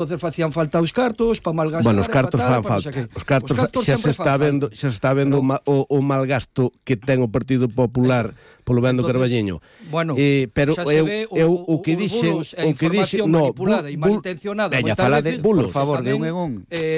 entonces facían falta os cartos para malgastar. Bueno, os cartos fan falta. Os cartos xa se está vendo, o malgasto que ten o Partido Popular polo vendo Carballiño. Bueno, pero eu o que dixe, manipulada e malintencionada, veña, fala de bulos, por favor, de un en un.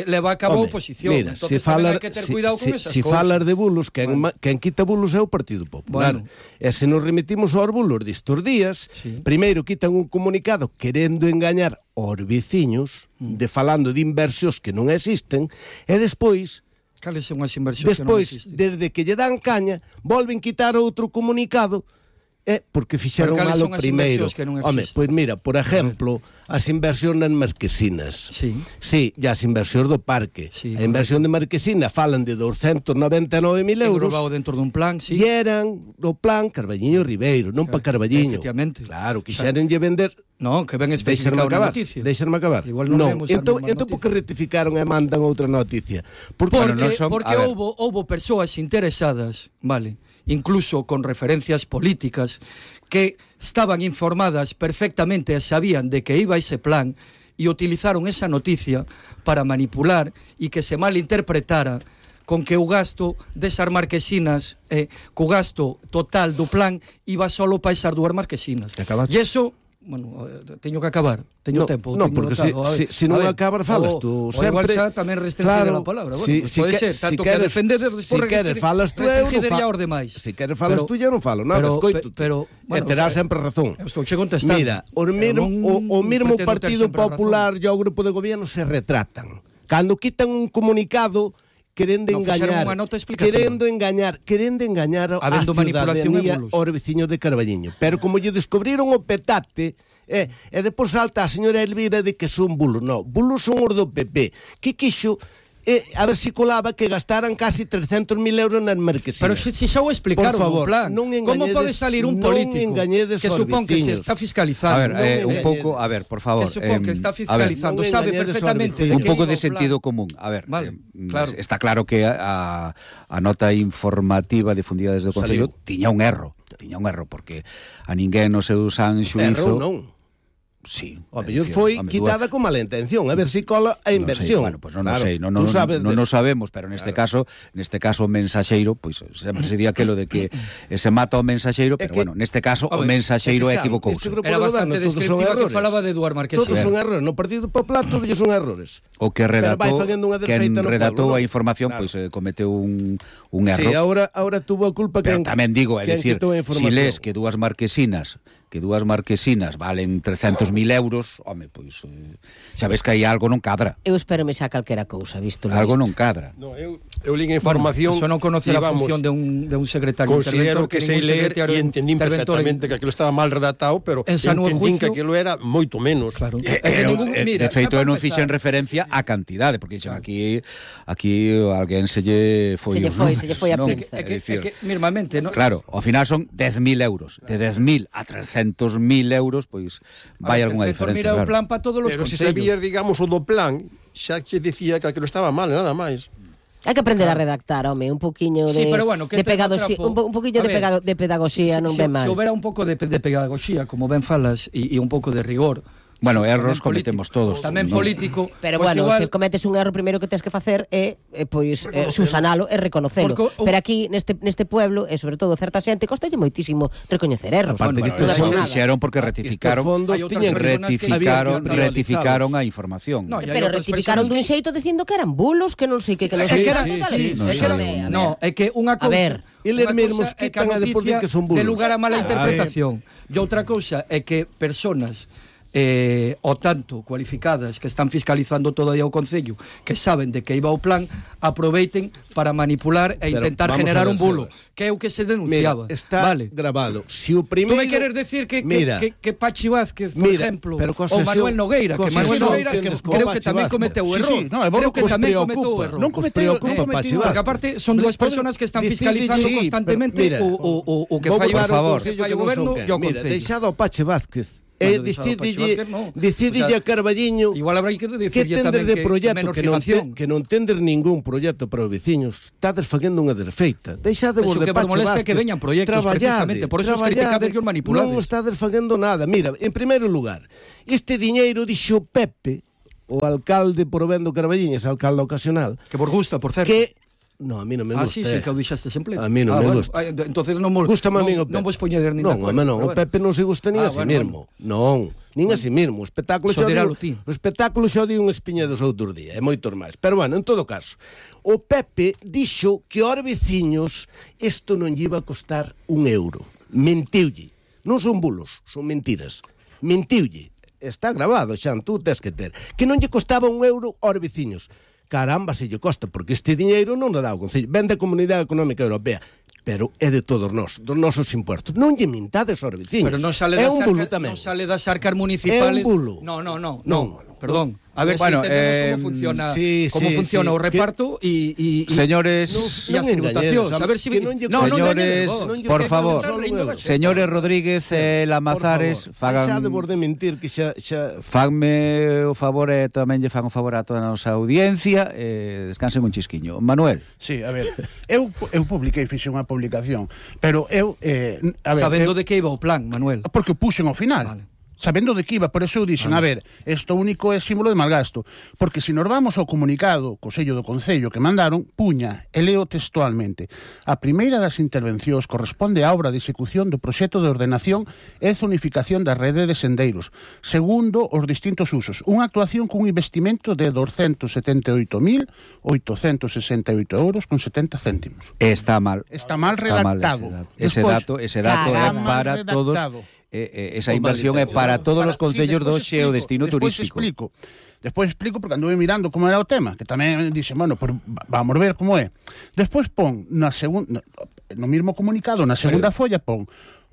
Leva a cabo a oposición. Mira, entonces hai que ter cuidado con esas cousas. Se falas de bulos, quen quita bulos é o Partido Popular. E se nos remitimos aos bulos destes días, primeiro quitan un comunicado querendo engañar aos veciños, falando de inversións que non existen, e despois, cales son as inversións que non existen? Desde que lle dan caña, volven quitar outro comunicado, porque fixeron malo primeiro. Home, pois mira, por exemplo, as inversións nas Marquesinas. Sí, e as inversións do parque. A inversión de Marquesina falan de 299.000 euros. Englobado dentro dun plan, e eran do plan Carballiño Ribeiro, non pa Carballiño. Efectivamente. Claro, quixerenlle vender. Non, que ben especificado na noticia. Deixarme acabar. Non, entón porque rectificaron e mandan outra noticia. Porque houbo persoas interesadas, vale, incluso con referencias políticas, que estaban informadas perfectamente e sabían de que iba ese plan e utilizaron esa noticia para manipular e que se malinterpretara con que o gasto desas Marquesinas, co gasto total do plan, iba solo para esas dúas Marquesinas. E eso... Bueno, teño que acabar, teño tempo. Non, porque se non acabas falas tú sempre. O igual xa tamén restringir a palabra. Bueno, pode ser, tanto que defender se queres falas tú eu non falo. Se queres falas tú eu non falo nada, escoito. Pero terás sempre razón. Estou che contestando. Mira, o mesmo Partido Popular e o grupo de gobierno se retratan. Cando quitan un comunicado querendo engañar a ciudadanía aos veciños de Carballiño. Pero como lle descubriron o petate, e depois salta a señora Elvira de que son bulos. Non, bulos son os do PP. Que quixo a ver si colaba que gastaran casi 300.000 euros nas Marquesinas. Pero se xa o explicaron no plan. Como pode salir un político que supón que se está fiscalizando? Un pouco, a ver, por favor. Que supón que está fiscalizando, sabe perfectamente. Un pouco de sentido común. A ver, está claro que a nota informativa difundida desde o Concello tiña un erro, porque a ninguén no seu san xuízo... Erro non. Sí, o mellor foi quitada con mala intención, a ver si cola a inversión. Bueno, pues non sei, non sabemos, pero neste caso o mensaxeiro, pois sempre se di aquilo de que se mata o mensaxeiro, pero bueno, neste caso o mensaxeiro equivocouse. Era bastante descriptiva que falaba de Eduard Marquesina. Todos son errores, no Partido Popular todos son errores. O que redactou a información, pois cometeu un erro. Sí, ahora tuvo a culpa pero tamén digo, é dicir, si lees que dúas Marquesinas valen 300.000 euros, home, pois sabes que aí algo non cadra. Eu espero me xa calquera cousa, visto algo non cadra. No, eu li a información. Eso non conoce a función de un secretario. Considero que sei ler e entendín perfectamente que aquilo estaba mal redactado, pero entendín que aquilo era moito menos. Claro. De feito, eu non fixen referencia á cantidade, porque aquí alguén se lle foi a pinza. É que, normalmente, ¿no? Claro, ao final son 10.000 euros. De 10.000 a 300.000 euros, pois vai algunha diferencia. Mira o plan para todos os concellos. Pero se sabías, digamos, o do plan, xa che dicía que aquilo estaba mal, nada máis. Hai que aprender a redactar, home, un poquinho de pedagogía, un poquillo de pedagogía non ven mal. Se houbera un pouco de pedagogía, como ben falas, e un pouco de rigor. Bueno, erros cometemos todos. Tamén político. Pero bueno, se cometes un erro, primeiro que tens que facer é subsanalo e reconocelo. Pero aquí, neste pueblo, e sobre todo certa xente, costalle moitísimo recoñecer erros. Aparte que isto fixeron porque rectificaron a información. Pero rectificaron dun xeito dicindo que eran bulos, que non sei que non sei que eran. No, é que unha cousa... Eles mesmos quitan a deporte que son bulos. De lugar a mala interpretación. E outra cousa é que personas o tanto cualificadas que están fiscalizando todo aí ao Concello, que saben de que iba o plan, aproveiten para manipular e intentar generar un bulo, que é o que se denunciaba. Mira, está grabado. Si o primeiro... Tú me queres decir que Pachi Vázquez, por ejemplo, ou Manuel Nogueira, que Manuel Nogueira creo que tamén cometeu o error. Creo que tamén cometeu o error. Non preocupa Pachi Vázquez. Porque aparte son dúas personas que están fiscalizando constantemente o que fai o goberno e o Concello. Mira, deixado o Pachi Vázquez decidille a Carballiño igual habrá que decirlle tamén de proxecto que non tender ningún proxecto para os veciños. Estades facendo unha desfeita. Deixade vos de Pachi Vázquez que veñan proxectos precisamente, por eso os criticades e os manipulades. Non estades facendo nada. Mira, en primeiro lugar, este diñeiro dixo Pepe, o alcalde Provendo Carballiñas, alcalde ocasional. Que vos gusta, por certo. Que no, a mí non me gusta. Sí, que o dixaste sempre. A mí non me gusta. Entonces non vos poñeder nin non, o Pepe non se gusta nin a si mesmo. Non, nin a si mesmo. O espectáculo xa di un espiña dos outros días, e moitos máis. Pero bueno, en todo caso, o Pepe dixo que aos veciños isto non lle iba a costar €1. Mentiulle. Non son bulos, son mentiras. Mentiulle. Está grabado, Xan, tú tes que ter. Que non lle costaba €1 aos veciños. Caramba, se lle costa, porque este diñeiro non dá o Concello, ven da Comunidade Económica Europea, pero é de todos nós, dos nosos impuestos. Non lle mintades aos veciños. Pero non sale das arcas municipales. É un bulo. No, perdón. A ver, si entendemos como funciona o reparto e señores, e as tributacións. A ver si señores, por favor, señores Rodríguez e Lamazares, fagan xa de borde mentir que xa fanme o favor e tamén lle fan o favor a toda a nosa audiencia, descansen un chisquiño. Manuel. Sí, a ver, eu publiquei, fixe unha publicación, pero eu sabendo de que iba o plan, Manuel. Porque o puxen ao final. Vale. Sabendo de que iba, por eso eu dixen, a ver, isto único é símbolo de malgasto, porque se nos vamos ao comunicado, co sello do Concello que mandaron, puña, e leo textualmente, a primeira das intervencións corresponde á obra de execución do proxecto de ordenación e zonificación da rede de sendeiros, segundo os distintos usos, unha actuación cun investimento de €278.868,70 €. Está mal redactado. Ese dato é para todos. Esa inversión é para todos os concellos do xeodestino turístico. Despois explico porque anduve mirando como era o tema, que tamén dixen, bueno, vamos ver como é. Despois pon no mesmo comunicado, na segunda folla pon: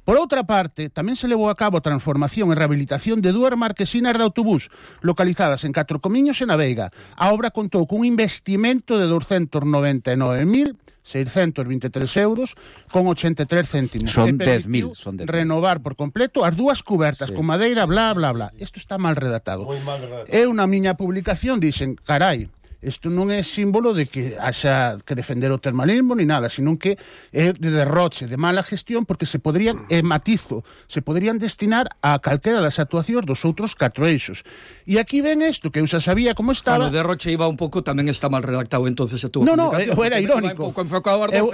por outra parte, tamén se levou a cabo a transformación e rehabilitación de 2 marquesinas de autobús localizadas en Catro Comiños e na Veiga. A obra contou cun investimento de €299.623,83. Son 10.000. Renovar por completo as 2 cubertas con madeira, bla, bla, bla. Isto está mal redactado. Eu na miña publicación dixen, carai, isto non é símbolo de que haxa que defender o termalismo ni nada, sino que é de derroche, de mala gestión, porque se poderían, se poderían destinar a calquera das actuacións dos outros 4 eixos. E aquí ven isto, que eu xa sabía como estaba. O derroche iba un pouco, tamén está mal redactado entonces a túa eu era irónico.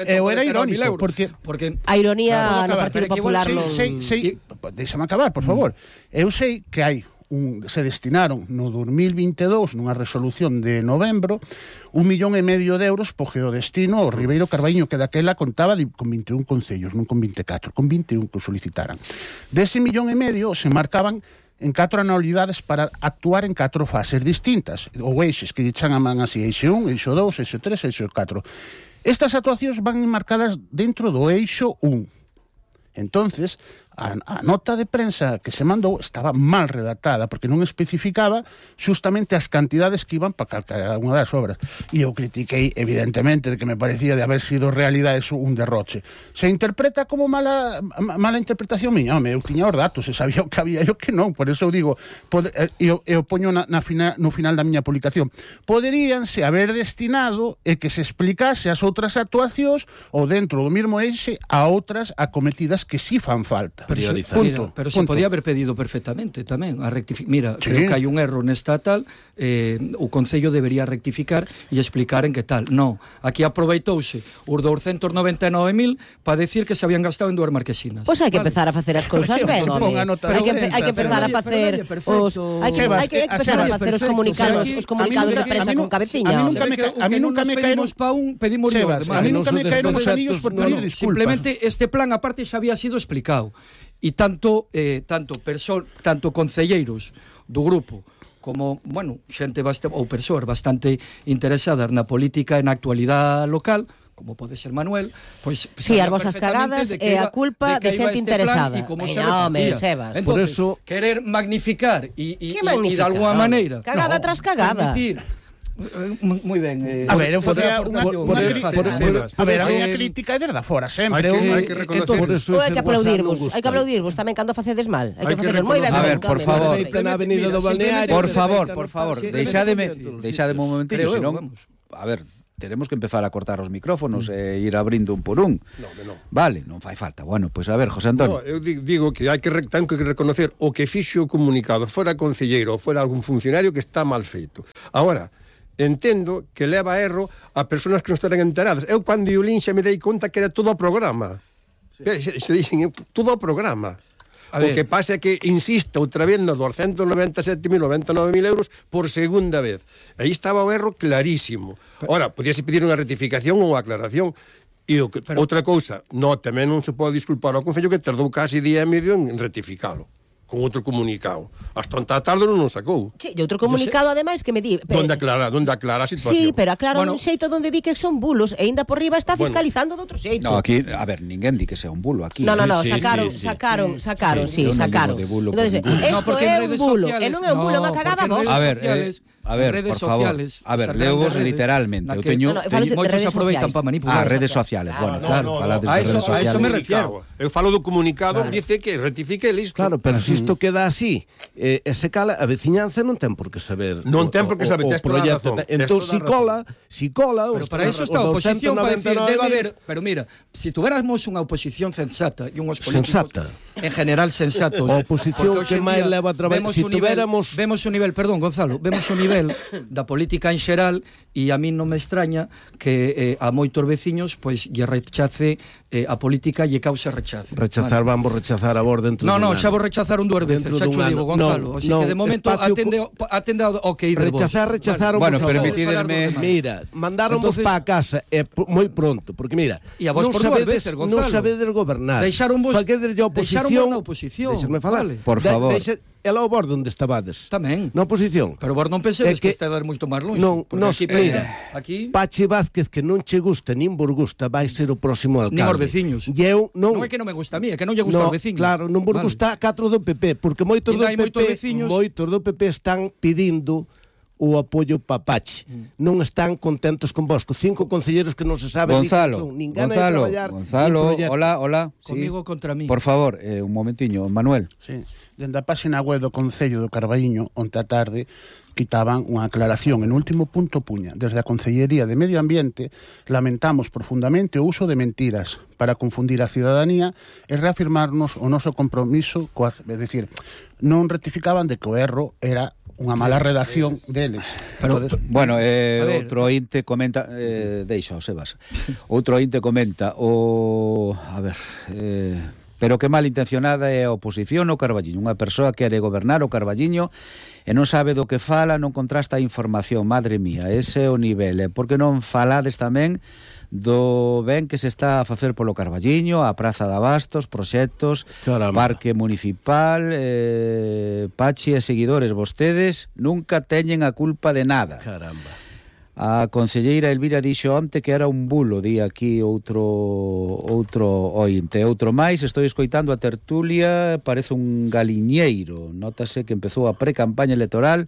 Eu era irónico, porque a ironía no Partido Popular Déxame acabar, por favor. Eu sei que hai se destinaron no 2022 nunha resolución de novembro €1,5 millón po geodestino ao Ribeiro Carballiño, que daquela contaba con 21 concellos, non con 24, con 21 que solicitaran. Dese €1,5 millón se marcaban en 4 anualidades para actuar en 4 fases distintas, ou eixes que lle chaman así, eixe 1, eixo 2, eixo 3, eixo 4. Estas actuacións van marcadas dentro do eixo 1. Entonces, a nota de prensa que se mandou estaba mal redactada, porque non especificaba justamente as cantidades que iban para calcar unha das obras. E eu critiquei, evidentemente, de que me parecía de haber sido realidade eso un derroche. Se interpreta como mala interpretación miña, eu tiña os datos, se sabía o que había e o que non, por eso eu digo, eu poño no final da miña publicación, poderíanse haber destinado e que se explicase as outras actuacións ou dentro do mesmo eixe a outras acometidas que sí fan falta. Pero se podía haber pedido perfectamente tamén a rectificar. Mira, sí. Creo que hai un erro nesta tal, o Concello debería rectificar e explicar en que tal. No, aquí aproveitouse os 299.000 para decir que se habían gastado en 2 marquesinas. Pois hai que empezar a facer as cousas ben. Hai que empezar a facer os comunicados de prensa con cabeciña. A mí nunca me caeron pedimos a mí nunca me caeron os anillos por pedir disculpas. Simplemente este plan aparte xa había sido explicado. E tanto concelleiros do grupo como, bueno, xente ou persoas bastante interesadas na política e na actualidade local, como pode ser Manuel, pois si as vosas cagadas é a culpa de xente interesada. Entonces, por eso querer magnificar e de alguma maneira cagada tras cagada. Moi ben. A ver, eu facía unha crítica desde fora, sempre. Hai que reconocer eso. Hai que aplaudirvos tamén cando facedes mal. Hai que facerlo moi ben. A ver, por favor. Por favor, deixademe un momentito, senón, a ver, teremos que empezar a cortar os micrófonos e ir abrindo un por un. Non. Vale, non fai falta. Bueno, pois a ver, José Antonio. Eu digo que ten que reconocer o que fixo o comunicado, fora concelleiro ou fora algún funcionario, que está mal feito. Agora, entendo que leva erro a persoas que non estarán enteradas. Eu, cando eu lin, xa me dei conta que era todo o programa. Se dixen, todo o programa. O que pasa é que, insisto, outra vez nos 297.099.000 euros por segunda vez. Aí estaba o erro clarísimo. Ora, podíase pedir unha rectificación ou unha aclaración. E outra cousa, tamén non se pode disculpar ao Concello que tardou casi día e medio en rectificalo con outro comunicado. Hasta onta tarde non nos sacou. Sí, e outro comunicado, ademais, que me di... Donde aclara a situación. Sí, pero aclara un xeito donde di que son bulos e ainda por riba está fiscalizando de outro xeito. No, aquí, a ver, ninguén di que sea un bulo aquí. No, sacaron. Entonces, esto é un bulo, e non é un bulo, unha cagada vos. A ver, por favor. A ver, leo vos literalmente. Eu teño moitos aproveitan para manipular. Redes sociales. Bueno, claro, falades de redes sociales. A eso me refiero. Eu falo do comunicado, dice que rectifique listo. Claro, pero se isto queda así, se cala, a veciñanza non ten por que saber. Non ten por que saber, tes toda a razón. Entón, si cola... Pero para eso está a oposición, para decir, debe haber... Pero mira, si tuviéramos unha oposición sensata e unhos políticos... En general sensatos. A oposición que máis leva a traballar... Si tuviéramos... Vemos un nivel, perdón, Gonzalo, vemos un nivel da política en xeral e a mí non me extraña que a moitos veciños pois lle rechace a política lle causa rechazo. Vamos rechazar a vos dentro dun ano. Xa vos rechazaron 2 veces, xa xo digo, Gonzalo. Así que de momento atende ao que ir de vos. Rechazaron. Bueno, permitirme... Mira, mandáronvos para a casa moi pronto, porque mira, non sabedes gobernar. Deixaron vos na oposición. Deixarme falar. Por favor. E lá o vos onde estabades. Tamén. Na oposición. Pero vos non pensedes que está a dar moito máis longe. Non, aquí Pachi Vázquez, que non che gusta nin vos gusta, vai ser o próximo alcalde. Nin os veciños. Non é que non me gusta a mí, é que non lle gusta aos veciños. Claro, non vos gusta 4 do PP, porque moitos do PP están pedindo o apoio para Pachi. Non están contentos con vos. 5 concelleros que non se sabe Gonzalo, hola. Comigo contra mí. Por favor, un momentiño, Manuel. Sí. Dende a página web do Concello do Carballiño, onte a tarde, quitaban unha aclaración. En último punto puña, desde a Concellería de Medio Ambiente, lamentamos profundamente o uso de mentiras para confundir a cidadanía e reafirmarnos o noso compromiso, é dicir, non rectificaban de que o erro era unha mala redacción deles. Pero, bueno, outro ointe comenta, deixa, Sebas. Outro ointe comenta, pero que malintencionada é a oposición ao Carballiño. Unha persoa que quere gobernar o Carballiño e non sabe do que fala, non contrasta a información. Madre mía, ese é o nivel. Por que non falades tamén do ben que se está a facer polo Carballiño, a Praza de Abastos, proxectos, Parque Municipal, Pachi e seguidores, vostedes nunca teñen a culpa de nada. Caramba. A concelleira Elvira dixo onte que era un bulo, di aquí outro ointe. Outro máis, estou escoitando a tertulia, parece un galiñeiro. Nótase que empezou a pre-campaña electoral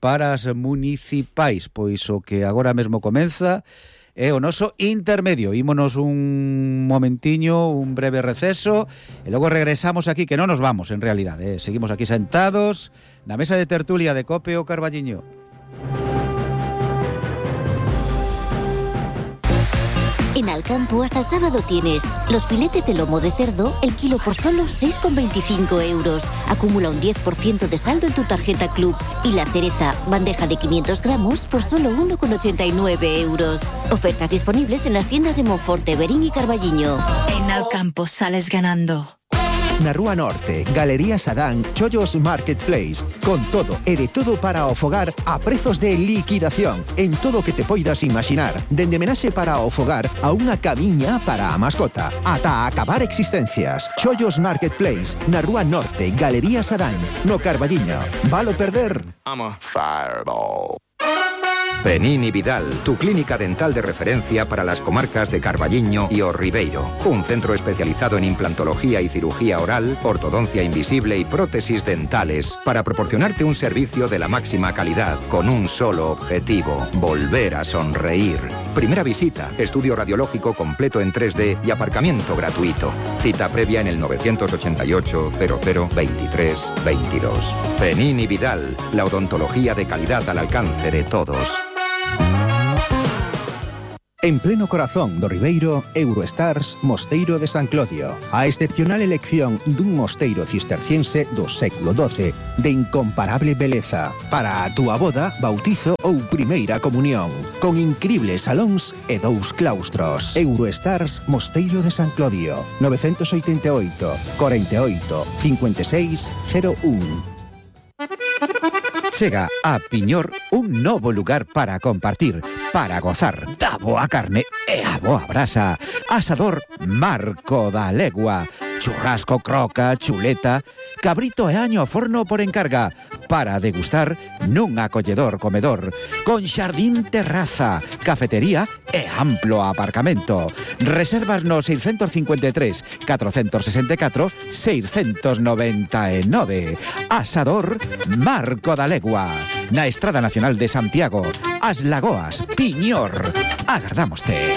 para as municipais, pois o que agora mesmo comeza é o noso intermedio. Ímonos un momentiño, un breve receso, e logo regresamos aquí, que non nos vamos en realidade, seguimos aquí sentados na mesa de tertulia de COPE o Carballiño. En Alcampo hasta el sábado tienes los filetes de lomo de cerdo, el kilo por solo 6,25 euros. Acumula un 10% de saldo en tu tarjeta Club. Y la cereza, bandeja de 500 gramos por solo 1,89 euros. Ofertas disponibles en las tiendas de Monforte, Verín y Carballiño. En Alcampo sales ganando. Na Rúa Norte, Galería Sadán, Chollos Marketplace. Con todo e de todo para o fogar a prezos de liquidación. En todo o que te poidas imaginar. Dende menaxe para o fogar a unha camiña para a mascota. Ata acabar existencias. Chollos Marketplace, na Rúa Norte, Galería Sadán, no Carballiño. Valo perder? I'm a fireball. Penín y Vidal, tu clínica dental de referencia para las comarcas de Carballiño y O Ribeiro. Un centro especializado en implantología y cirugía oral, ortodoncia invisible y prótesis dentales para proporcionarte un servicio de la máxima calidad con un solo objetivo: volver a sonreír. Primera visita, estudio radiológico completo en 3D y aparcamiento gratuito. Cita previa en el 988 00 23 22. Penín y Vidal, la odontología de calidad al alcance de todos. En pleno corazón do Ribeiro, Eurostars Mosteiro de San Clodio. A excepcional elección dun mosteiro cisterciense do século XII de incomparable beleza para a túa boda, bautizo ou primeira comunión, con incribles salóns e 2 claustros. Eurostars Mosteiro de San Clodio, 988 48 56 01. Chega a Piñor un novo lugar para compartir, para gozar da boa carne e a boa brasa. Asador Marco da Legua. Churrasco, croca, chuleta, cabrito e año ao forno por encarga, para degustar nun acolledor comedor, con xardín terraza, cafetería e amplo aparcamento. Reservas no 653 464 699. Asador Marco da Legua, na Estrada Nacional de Santiago, As Lagoas, Piñor. Agardámoste.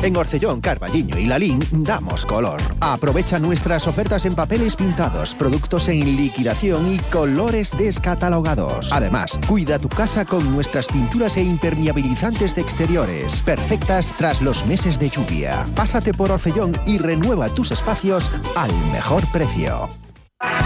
En Orcellón, Carballiño y Lalín damos color. Aprovecha nuestras ofertas en papeles pintados, productos en liquidación y colores descatalogados. Además, cuida tu casa con nuestras pinturas e impermeabilizantes de exteriores, perfectas tras los meses de lluvia. Pásate por Orcellón y renueva tus espacios al mejor precio.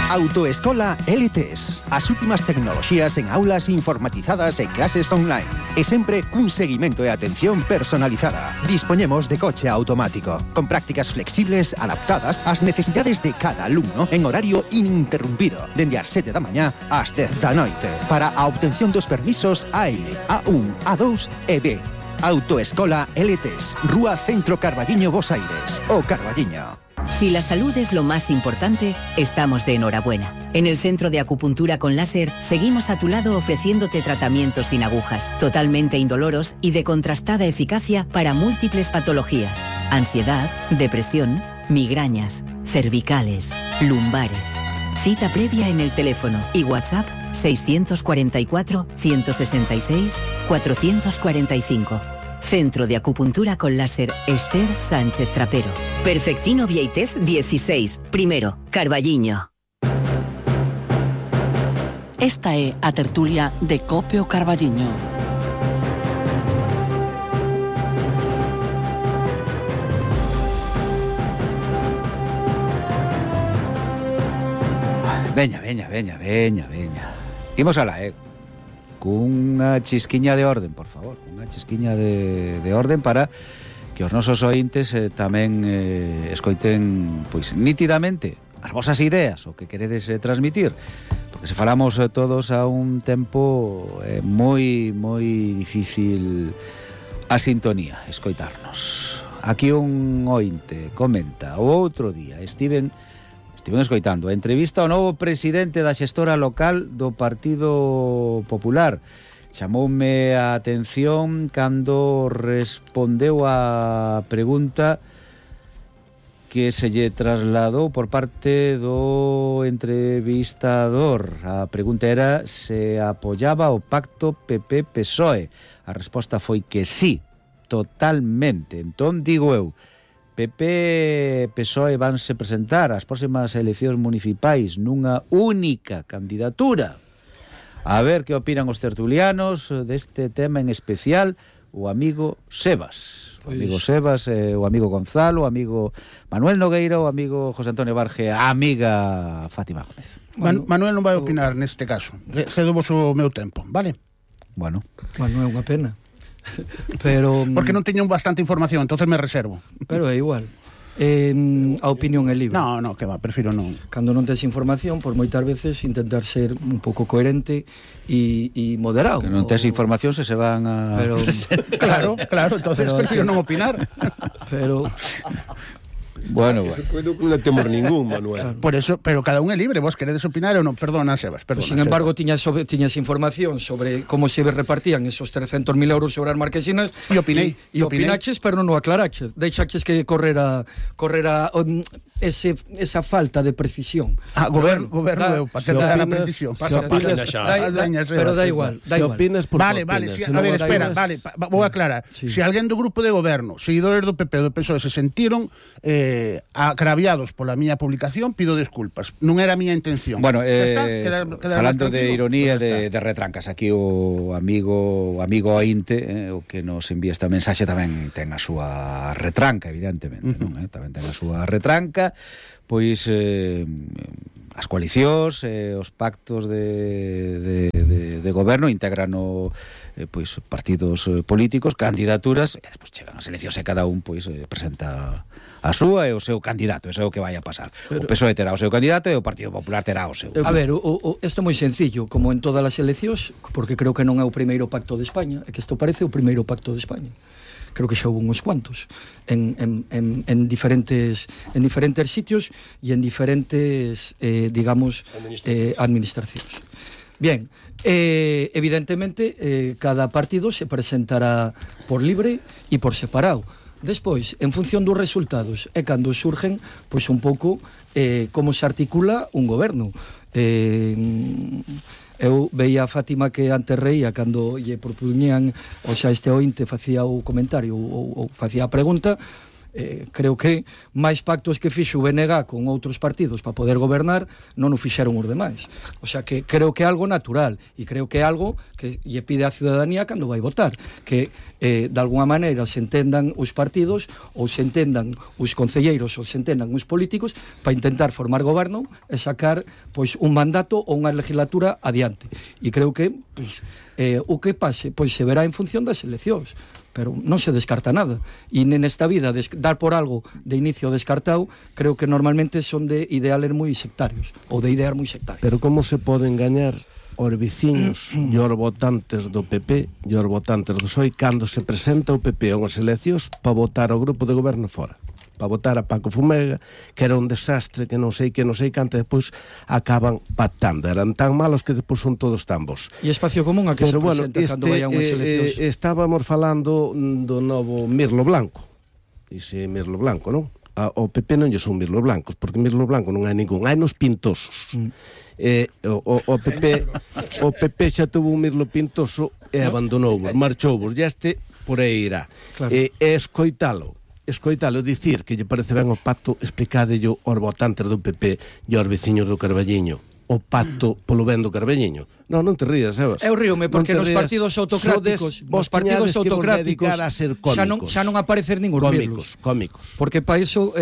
Autoescola LTS. As últimas tecnoloxías en aulas informatizadas e clases online. E sempre cun seguimento e atención personalizada. Dispoñemos de coche automático, con prácticas flexibles adaptadas ás necesidades de cada alumno en horario ininterrumpido, dende as 7 da mañá ás 10 da noite, para a obtención dos permisos AM, A1, A2 e B. Autoescola LTS, Rúa Centro Carballiño, Bos Aires, o Carballiño. Si la salud es lo más importante, estamos de enhorabuena. En el Centro de Acupuntura con Láser seguimos a tu lado ofreciéndote tratamientos sin agujas, totalmente indoloros y de contrastada eficacia para múltiples patologías: ansiedad, depresión, migrañas, cervicales, lumbares. Cita previa en el teléfono y WhatsApp 644 166 445. Centro de Acupuntura con Láser Esther Sánchez Trapero. Perfectino Vieitez 16, primero, Carballiño. Esta é a tertulia de Cope o Carballiño. Veña. Imos alá, cunha chisquiña de orden, por favor, unha chisquiña de orden para que os nosos ointes tamén escoiten pois nítidamente as vosas ideas, o que queredes transmitir, porque se falamos todos a un tempo moi difícil a sintonía, escoitarnos. Aquí un ointe comenta: o outro día estiven escoitando a entrevista ao novo presidente da xestora local do Partido Popular. Chamoume a atención cando respondeu a pregunta que se lle trasladou por parte do entrevistador. A pregunta era se apoyaba o pacto PP-PSOE. A resposta foi que sí, totalmente. Entón, digo eu, PP e PSOE vanse presentar ás próximas eleccións municipais nunha única candidatura. A ver que opinan os tertulianos deste tema en especial, o amigo Sebas. O amigo Sebas, o amigo Gonzalo, o amigo Manuel Nogueira, o amigo José Antonio Barge, a amiga Fátima Gómez. Manuel non vai opinar neste caso. Cedovos o meu tempo, vale? Bueno, é unha pena. Pero porque non teño bastante información, entonces me reservo. Pero é igual. A opinión é libre. No, que va, prefiro non. Cando non tes información, por moitas veces intentar ser un pouco coherente e moderado. Que non tes información se van a... Pero... claro, entonces prefiro non opinar. Pero... Bueno. Eso non temos ningún, Manuel. Por eso, pero cada un é libre, vos queredes opinar ou non, perdona, Sebas, perdona. Sin embargo, tiñas información sobre como se repartían esos 300.000 euros sobre as marquesinas e opinei. E opinaches, pero non o aclaraches. Deixaches que correra esa falta de precisión. Goberno eu, para que dar a precisión. Pero da igual. Vale, a ver, espera, vou aclarar. Se alguén do grupo de goberno, seguidores do PP, do PSOE, se sentiron agraviados pola miña publicación, pido desculpas. Non era a miña intención. Bueno, falando de ironía de retrancas, aquí o amigo Ointe, o que nos envía esta mensaxe, tamén ten a súa retranca, evidentemente, non? Tamén ten a súa retranca, pois as coalicións, os pactos de goberno integran pois partidos políticos, candidaturas, e despois chegan as eleccións e cada un pois presenta a súa e o seu candidato, eso é o que vai a pasar. O PSOE terá o seu candidato e o Partido Popular terá o seu. A ver, isto é moi sencillo, como en todas as eleccións, porque creo que non é o primeiro pacto de España, é que isto parece o primeiro pacto de España. Creo que xa houve uns cuantos en diferentes sitios e en diferentes, digamos, administracións. Bien, evidentemente, cada partido se presentará por libre e por separado. Despois, en función dos resultados, é cando surgen, pois, un pouco como se articula un goberno. Eu veía a Fátima que antes reía cando lle propuñían, o xa este ointe facía o comentario ou facía a pregunta. Creo que máis pactos que fixo o BNG con outros partidos para poder gobernar non o fixeron os demais. O sea que creo que é algo natural e creo que é algo que lle pide a ciudadanía cando vai votar, que de alguna maneira se entendan os partidos ou se entendan os concelleiros ou se entendan os políticos para intentar formar goberno e sacar pois un mandato ou unha legislatura adiante. E creo que pois, o que pase pois se verá en función das eleccións, pero non se descarta nada. E nesta vida, dar por algo de inicio descartado, creo que normalmente son de ideales moi sectarios, ou de ideas moi sectarias. Pero como se poden gañar os veciños e os votantes do PP e os votantes do PSOE cando se presenta o PP a unhas eleccións para votar ao grupo de goberno fora? Para votar a Paco Fumega, que era un desastre, que non sei canto, depois acaban pactando. Eran tan malos que depois son todos tan bons. E espacio común a que se presenta cando vai a unhas eleccións? Estábamos falando do novo Mirlo Blanco. Ese Mirlo Blanco, non? O PP non lle son Mirlo Blancos, porque Mirlo Blanco non hai ningún. Hai nos pintosos. O PP xa tuvo un Mirlo pintoso e abandonou, marchou, e este por aí irá. E escoitalo dicir que lle parece ben o pacto, explicádelle aos votantes do PP e aos veciños do Carballiño o pacto polo ben do Carballiño. Non te rías, Sebas. Eu ríome porque nos partidos autocráticos xa non aparecer ningún mirlos. Cómicos. Porque para iso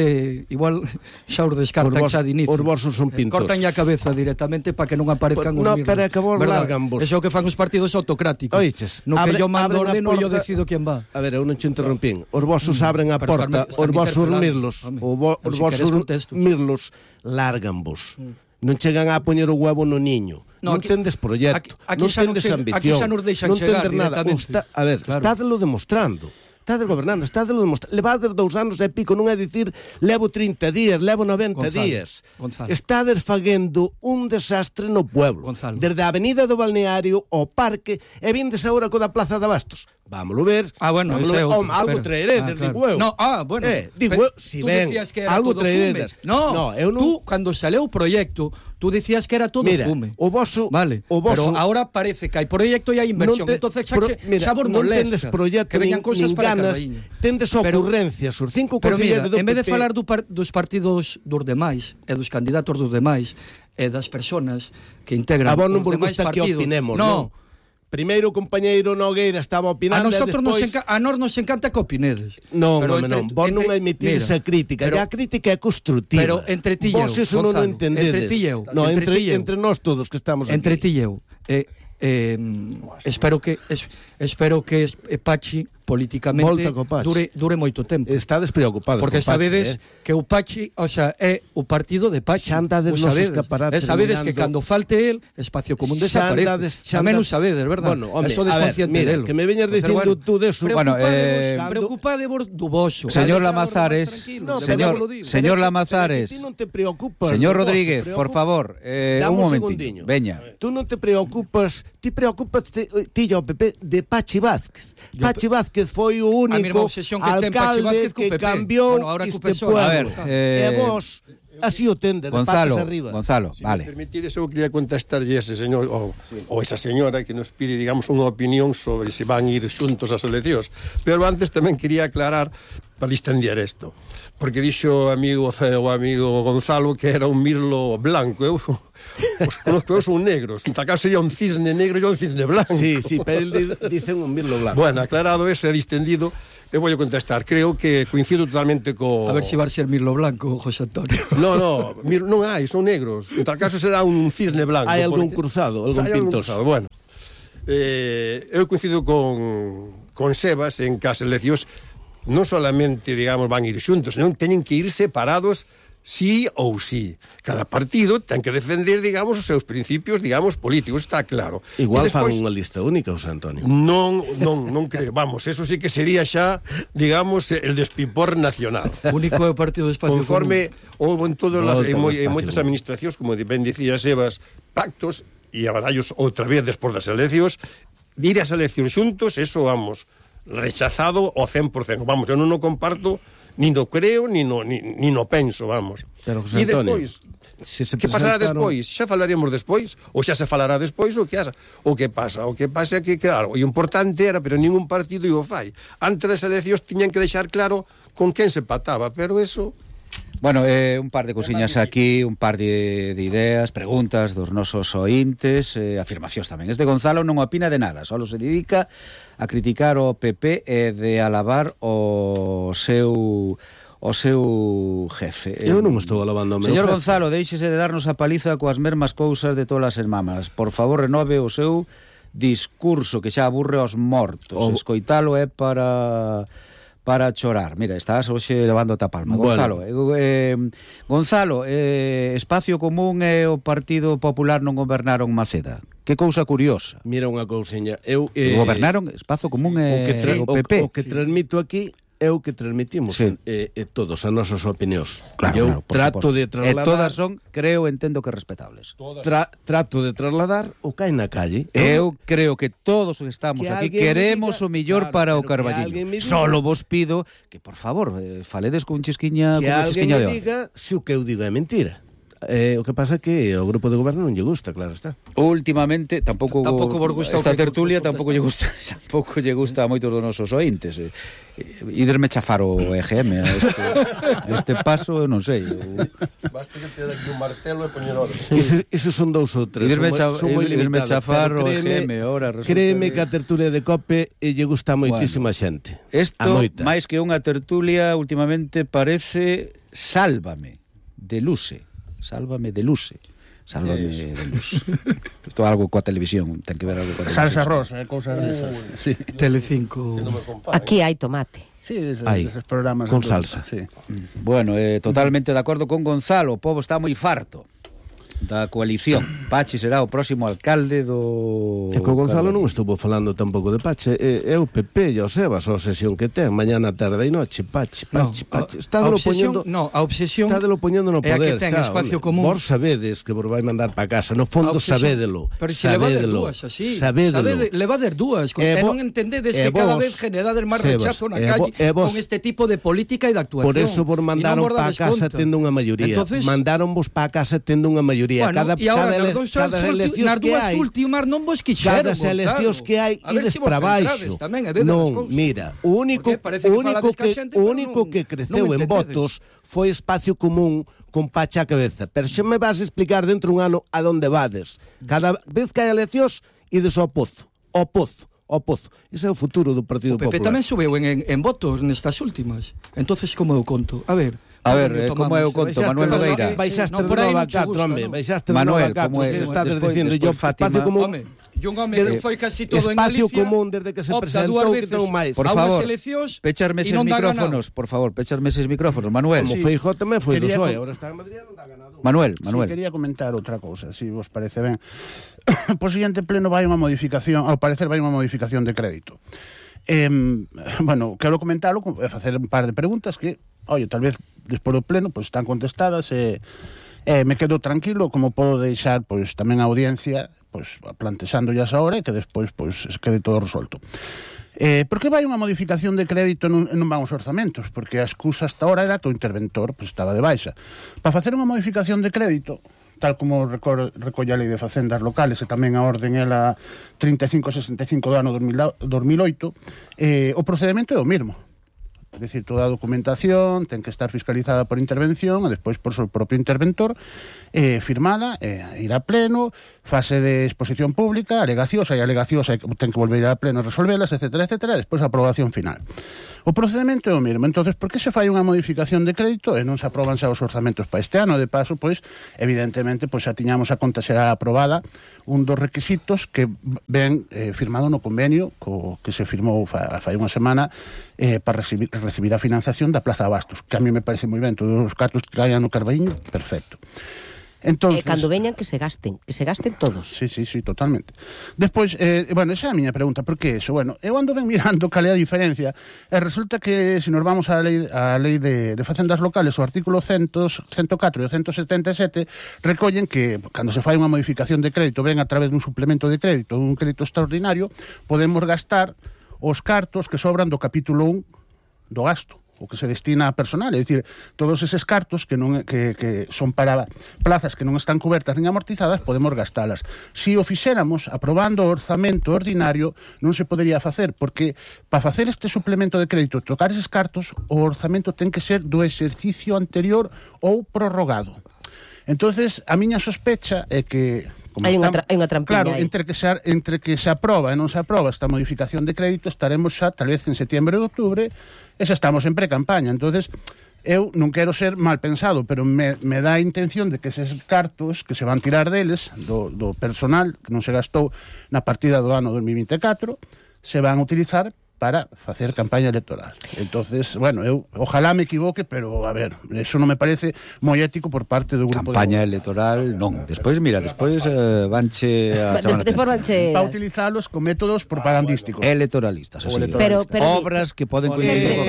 igual xa os descartan xa de inicio. Os vosos son pintos. Cortan a cabeza directamente para que non aparezcan os mirlos. No, pero é que vos largan vos. Eso que fan os partidos autocráticos. Oiches, no que yo mando ordeno e yo decido quen va. A ver, eu non te interrompín. Os vosos abren a porta, os vosos mirlos, os vosos mirlos largan vos. Non chegan a poñer o huevo no niño. Non tendes proxecto, non tendes ambición, non tendes nada. A ver, estádelo demostrando. Estades gobernando, estádelo demostrando. Levades 2 anos e pico, non é dicir levo 30 días, levo 90 días. Estades faguendo un desastre no pueblo. Desde a avenida do Balneario ao parque e vindes agora co da Plaza de Abastos. Vámoslo ver. Bueno, algo traeredes, digo eu. Bueno. Digo eu, si ben, algo traeredes. Tú, cando saleu o proxecto, tú decías que era todo fume. O voso, pero ahora parece que hai proxecto e hai inversión. Entonces xa vos molesta que veñan cosas para Carballiño. Tendes ocurrencias, os 5 concelleiros do PP. En vez de falar dos partidos dos demais e dos candidatos dos demais e das persoas que integran os demais partidos. Non. Primeiro o compañeiro Nogueira estaba opinando a nós nos encanta que opinedes. Non, vos non admitides a crítica. A crítica é constructiva. Pero entre ti e eu, vos eso non o entendedes. Entre nós todos que estamos aquí. Entre ti e eu. Espero que Pachi políticamente dure moito tempo. Está despreocupado. Porque sabedes que o Pachi, o sea, é o partido de Pachi. Sabedes que cando falte el, Espacio Común desaparece. Tamén o sabedes, verdad? Eso desconsciente delo. Que me veñas dicindo tú deso. Preocupade do voso. Señor Lamazares, señor Lamazares. Ti non te preocupas. Señor Rodríguez, por favor, un momentinho. Veña. Tú non te preocupas, ti preocupas ti ao PP de Pachi Vázquez. Pachi Vázquez Vázquez foi o único alcalde que cambiou este pueblo. E vos así o tende, de patas arriba. Gonzalo, vale. Si me permitides, eu quería contestarlle ese señor ou esa señora que nos pide, digamos, unha opinión sobre se van ir xuntos ás eleccións. Pero antes tamén quería aclarar para distender isto, porque dixo o amigo Gonzalo que era un mirlo blanco. Eu os conozco, son negros. En tal caso sería un cisne negro e un cisne blanco. Sí, pero él dice un mirlo blanco. Bueno, aclarado eso e distendido, eu vou contestar. Creo que coincido totalmente co... A ver se vai ser mirlo blanco, José Antonio. Non hai, son negros. En tal caso será un cisne blanco. Hai algún cruzado, algún pintoso. Bueno, eu coincido con Sebas en que as eleccións non solamente, digamos, van ir xuntos, senón teñen que ir separados sí ou sí. Cada partido ten que defender, digamos, os seus principios, digamos, políticos, está claro. Igual fan unha lista única, José Antonio. Non creo, vamos, eso sí que sería xa, digamos, el despipor nacional. Único partido de espacio conforme houve en moitas administracións, como ben dicía Sebas, pactos, e a barallos outra vez despois das eleccións, ir ás eleccións xuntos, eso, vamos, rechazado ao 100%. Vamos, eu non o comparto, ni no creo, ni no penso, vamos. E despois, que pasará despois? Xa falaremos despois, ou xa se falará despois, o que pasa? O que pasa é que, claro, o importante era, pero ningún partido o fai. Antes das eleccións tiñan que deixar claro con quen se pataba, pero eso... Bueno, un par de cousiñas aquí, un par de ideas, preguntas dos nosos ointes, afirmacións tamén. Este Gonzalo non opina de nada, só se dedica a criticar o PP e de alabar o seu jefe. Eu non estou alabando o meu Señor jefe. Gonzalo, deixese de darnos a paliza coas mesmas cousas de todas as semanas. Por favor, renove o seu discurso que xa aburre aos mortos. Escoitalo é para chorar. Mira, estás hoxe levando a palma. Gonzalo, Gonzalo, Espacio Común e o Partido Popular non gobernaron Maceda. Que cousa curiosa. Mira unha cousiña. Gobernaron Espacio Común e o PP. O que transmito aquí é o que transmitimos todos as nosas opinións. Claro, trato de trasladar... E todas son, entendo que respetables. Trato de trasladar o que hai na calle. Eu creo que todos os que estamos aquí queremos o mellor para o Carballiño. Solo vos pido que, por favor, faledes con chisquiña de hora. Que alguén me diga se o que eu digo é mentira. O que pasa é que o grupo de goberno non lle gusta, claro está. Últimamente tampouco esta tertulia tampouco lle gusta a moitos dos nosos ointes. Iderme chafar o EGM este paso, eu non sei. Basta que te dá aquí un martelo e poñer orden. Esos son dous ou tres. Iderme chafar o EGM ahora. Créeme que a tertulia de COPE lle gusta a moitísima xente. Isto, máis que unha tertulia, últimamente parece Sálvame de Luce. Sálvame de Luce. Isto é algo coa televisión, ten que ver algo coa televisión. Salsa rosa, cousas desas. Sí. Telecinco. Aquí hai tomate. Sí, deses programas con salsa. Sí. Bueno, totalmente de acordo con Gonzalo, o povo está moi farto da coalición. Pachi será o próximo alcalde do... E con Gonzalo non estuvo falando tampouco de Pachi. É o PP e o Sebas, a obsesión que ten mañana, tarde e noche. Pachi. Estádelo poñendo no poder. É que ten espacio común. Vos sabedes que vos vai mandar para casa. No fondo sabédelo. Pero se levader dúas así. Levader dúas. E non entendedes que cada vez generades máis rechazo na calle con este tipo de política e de actuación. Por eso vos mandaron para casa tendo unha maioría. Mandaron vos para casa tendo unha maioría. Bueno, e agora nas dúas últimas non vos quixeron. Cada eleccións que hai ides para baixo. Non, mira, o único que creceu en votos foi Espacio Común con Pacha a cabeza. Pero xa me vas a explicar dentro un ano a donde vades. Cada vez que hai eleccións ides ao pozo. Ese é o futuro do Partido Popular. O PP tamén subeu en votos nestas últimas. Entonces como eu conto? A ver, como é o conto, Manuel Nogueira? Baixaste de novo a 4, home. Baixaste de novo a 4, que estás dicindo yo, Espacio Común. E un home que foi casi todo en Galicia. Espacio Común desde que se presentou que ten máis. Por favor, pecharme eses micrófonos, por favor, pecharme eses micrófonos, Manuel. Como Feijóo tamén foi do PSOE, agora está en Madrid e non dá ganado. Manuel. Quería comentar outra cousa, se vos parece ben. Por seguinte pleno vai unha modificación, ao parecer vai unha modificación de crédito. Bueno, quero comentarlo, facer un par de preguntas que, tal vez despois do pleno están contestadas e me quedo tranquilo, como podo deixar tamén a audiencia plantexando ya ahora e que despois quede todo resolto. Por que vai unha modificación de crédito e non van os orzamentos? Porque a excusa hasta ahora era que o interventor estaba de baixa. Para facer unha modificación de crédito, tal como recolle a Lei de Facendas Locales e tamén a orden ela 3565 do ano 2008, o procedemento é o mesmo. É dicir, toda a documentación ten que estar fiscalizada por intervención e despois por o propio interventor, firmala, ir a pleno, fase de exposición pública, alegacións, hai alegacións, ten que volver a pleno a resolvelas, etcétera, etcétera, e despois a aprobación final. O procedimento é o mesmo. Entonces, por que se fai unha modificación de crédito e non se aproban xa os orzamentos para este ano? De paso, pois, evidentemente, pois xa tiñamos a conta será aprobada un dos requisitos que ven firmado no convenio que se firmou fai unha semana para recibir a financiación da Plaza Abastos, que a mí me parece moi ben, todos os cartos que caían no Carballiño, perfecto. Entonces, cando veñan que se gasten todos. Sí, totalmente. Despois, bueno, esa é a miña pregunta, por que eso? Bueno, eu ando ben mirando cal é a diferencia, e resulta que se nos vamos á lei de facendas locales, o artículo 104 e o 177 recollen que cando se fai unha modificación de crédito, ven a través dun suplemento de crédito, dun crédito extraordinario, podemos gastar os cartos que sobran do capítulo 1 do gasto, o que se destina a personal, é dicir, todos eses cartos que son para plazas que non están cobertas nin amortizadas, podemos gastalas. Si o fixéramos aprobando o orzamento ordinario, non se podería facer, porque para facer este suplemento de crédito e trocar eses cartos, o orzamento ten que ser do exercicio anterior ou prorrogado. Entonces, a miña sospecha é que hai unha trampiña. Claro, entre que se aproba e non se aproba esta modificación de crédito, estaremos xa tal vez en setembro e outubro e xa estamos en pre-campaña. Entonces, eu non quero ser mal pensado, pero me dá a intención de que eses cartos que se van tirar deles, do personal que non se gastou na partida do ano 2024, se van a utilizar para facer campaña electoral. Entonces, bueno, eu ojalá me equivoque, pero a ver, eso non me parece moi ético por parte do grupo campaña electoral, non. Despois vanche a chamar para utilizalos con métodos propagandísticos. Electoralistas, así. Pero obras que poden coincidir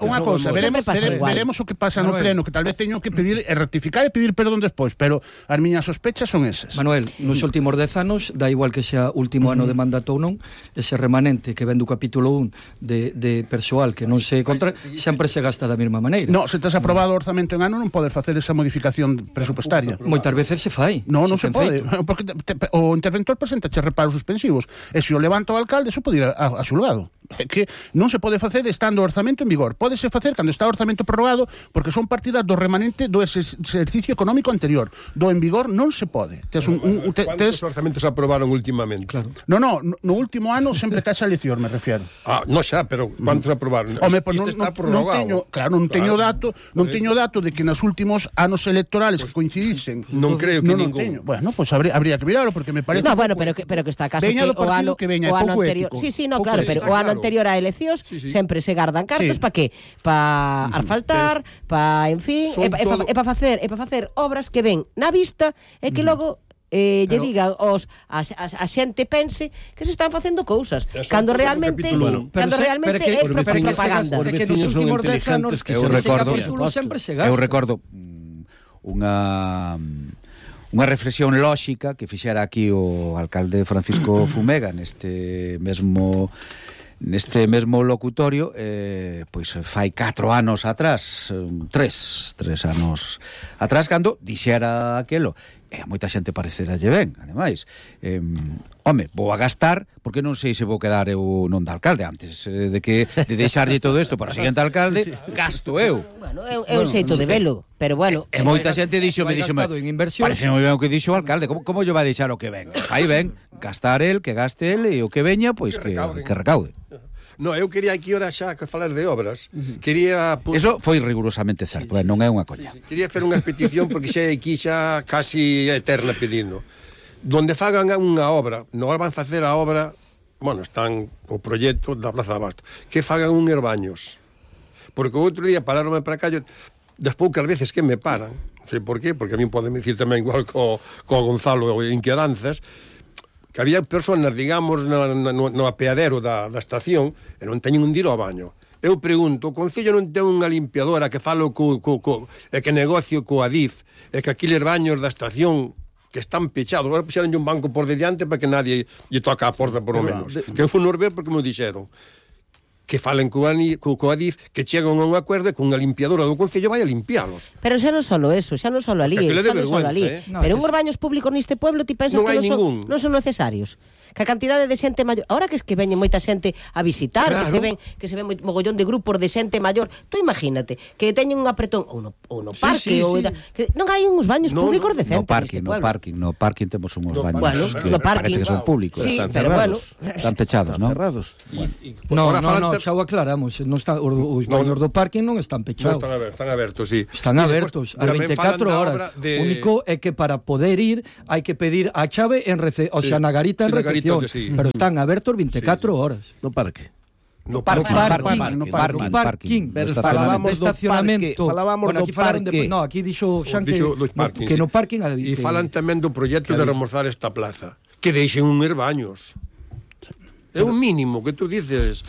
unha cousa, veremos o que pasa no pleno, que tal vez teño que pedir e rectificar e pedir perdón despois, pero as miñas sospechas son esas. Manuel, nos últimos 10 anos, da igual que sea último ano de mandato ou non, ese remanente que ven do capítulo 1 de persoal que non se contra, sempre se gasta da mesma maneira. No, se tes aprobado o orzamento en ano non podes facer esa modificación presupuestaria. Moitas veces se fai. Non se pode, porque o interventor presenta reparos suspensivos, e se o levanta o alcalde, eso pode ir a xulgado. É que non se pode facer estando o orzamento en vigor. Pódese facer cando está o orzamento prorrogado, porque son partidas do remanente do exercicio económico anterior. Do en vigor non se pode. Quantos orzamentos aprobaron últimamente? Claro. No último ano sempre cae a elección, me refiero. No xa, pero ¿cuántos aprobaron? Home, pues non teño dato de que nos últimos anos electorales que coincidisen. Non creo que ningún. Bueno, pues habría que mirarlo, porque me parece. No, bueno, pero que está casi que o ano anterior. Sí, no, claro, pero o ano anterior a eleccións sempre se gardan cartos para que? Para asfaltar, para, en fin, e para facer obras que ven na vista e que logo lle diga a xente pense que se están facendo cousas cando realmente é propaganda. Que nos últimos 10 anos que eu recordo unha reflexión lóxica que fixera aquí o alcalde Francisco Fumega neste mesmo locutorio, pois fai 4 anos atrás, 3 anos atrás, cando dixera aquelo. E a moita xente pareceralle ben, ademais. Home, vou a gastar, porque non sei se vou quedar eu non de alcalde antes de deixarlle todo isto para o seguinte alcalde, gasto eu. Bueno, é un xeito de velo, pero bueno. E moita xente díxome, parece moi ben o que dixo o alcalde, como lle vai deixar o que ven? Fai ben, gastar el, que gaste el, e o que veña, pois que recaude. No, eu quería aquí ahora xa que falar de obras. Eso foi rigurosamente certo, non é unha coña. Quería fer unha petición porque xa aquí xa casi eterna pedindo. Donde fagan unha obra, non van facer a obra, bueno, están o proxecto da Plaza Abastos, que fagan un herbaños. Porque o outro día pararonme para cá, das poucas veces que me paran, non sei por qué, porque a mí podem dicir tamén igual co Gonzalo en Quedanzas, que había personas, digamos, no apeadero da estación e non teñen un dilo ao baño. Eu pregunto, o Concello non ten unha limpiadora que falo e que negocio co Adif e que aqueles baños da estación que están pechados, agora puxeron un banco por diante para que nadie lle toca a porta por lo menos. Que eu fui no ver porque me dixeron que falen co Adif, que chegan a un acordo e con unha limpiadora do Concello vai a limpialos. Pero xa non solo eso, xa non solo ali, pero uns baños públicos neste pueblo ti pensas que non son necesarios. Que a cantidade de xente maior, ahora que veñe moita xente a visitar, claro, que se ven mogollón de grupos de xente maior, tú imagínate que teñen un apretón ou no parque que non hai uns baños públicos decentes no parking temos uns baños que parece que son públicos, sí, están cerrados, están pechados, ¿no? Cerrados. No, xa o aclaramos, non está os baños do parking non están pechados. Non están abertos, sí. Están abertos a 24 horas. O único é que para poder ir hai que pedir a chave o sea, na garita en recepción. Pero están abertos 24 horas. No parque. No parking. Pero falábamos do estacionamento. Bueno, aquí falaron de... No, aquí dixo Xan que no parking... E falan tamén do proxecto de remozar esta plaza. Que deixen unhos baños. É un mínimo que tú dices...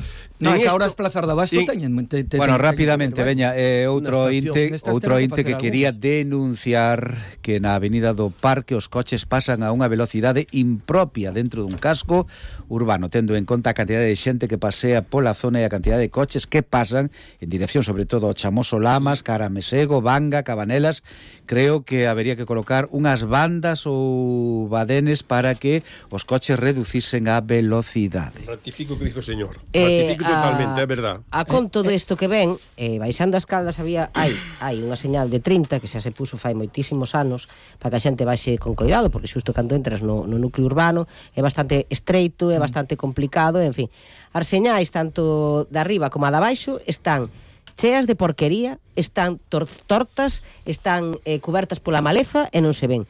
Non, que ahora as plazas de abasto teñen... Bueno, rápidamente, veña, outro inte que quería denunciar que na avenida do Parque os coches pasan a unha velocidade impropia dentro dun casco urbano, tendo en conta a cantidade de xente que pasea pola zona e a cantidade de coches que pasan en dirección, sobre todo, ao Chamoso Lamas, Caramesego, Vanga, Cabanelas. Creo que habería que colocar unhas bandas ou badenes para que os coches reducisen a velocidade. Ratifico o que dice o señor. Ratifico totalmente, é verdad. A conto desto que ven, baixando as Caldas hai unha señal de 30 que xa se puso fai moitísimos anos para que a xente baixe con cuidado, porque xusto cando entras no núcleo urbano é bastante estreito, é bastante complicado, en fin. As señais tanto de arriba como a de abaixo están cheas de porquería, están tortas, están cubertas pola maleza e non se ven.